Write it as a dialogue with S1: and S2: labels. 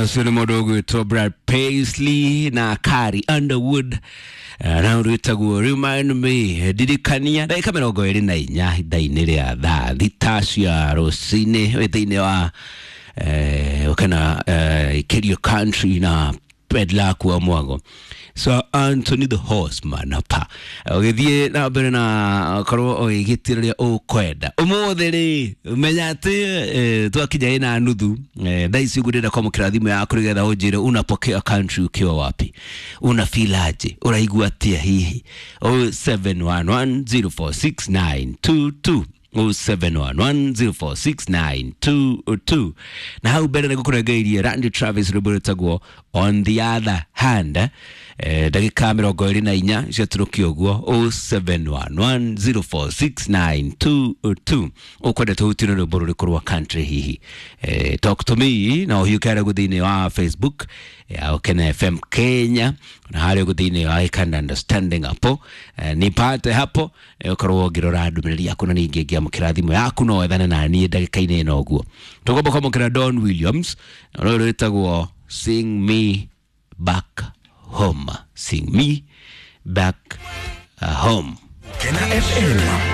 S1: Ũcio nĩ mũndũ ũgwĩtwo Brad Paisley na Carrie Underwood, na rwĩtagwo Remind Me, ndirikania. Ndagĩka 24 ithaa-inĩ rĩa thaa 6 cia rũcinĩ, wĩ thĩinĩ wa kana Kerio Country na Pedlaku wa Mwago, so Anthony the Horseman hapa ũgĩthiĩ na mbere na korwo ũgĩgĩtĩra ũrĩa ũkwenda ũmũthĩ rĩ, menya atĩ twakinya ĩna nuthu thaa ici ũguo ndĩrenda kwamũkĩra thimũ yaku nĩgetha ũnjĩre unapokea country ukiwa wapi, una feel aje, ũraigua atĩa hihi. 0711046922, 0711046922. Na hau mbere nĩngũkũrengeirie Randy Travis, rwĩmbo rwĩtagwo On the Other Hand. Ndagĩka 24 ciatũrũkia ũguo. 0711046922, ũkwenda tũhutire rwĩmbo rũrĩkũ rwa country hihi? Talk to me na ũhiũke harĩa ũguo thĩinĩ wa Facebook ya Ukena FM Kenya, na harĩa ũguo thĩinĩ wa Ikanda Understanding hapo, nipate hapo, ũkorwo ũngĩrora ndũmĩrĩri yaku na ningĩ ngĩamũkĩra thimũ yaku no wethane na niĩ ndagĩka-inĩ ĩno ũguo. Tũgomba kwamũkĩra Don Williams na rũrũ rwĩtagwo Sing Me Back Home, Sing Me Back Home.
S2: Kena FM.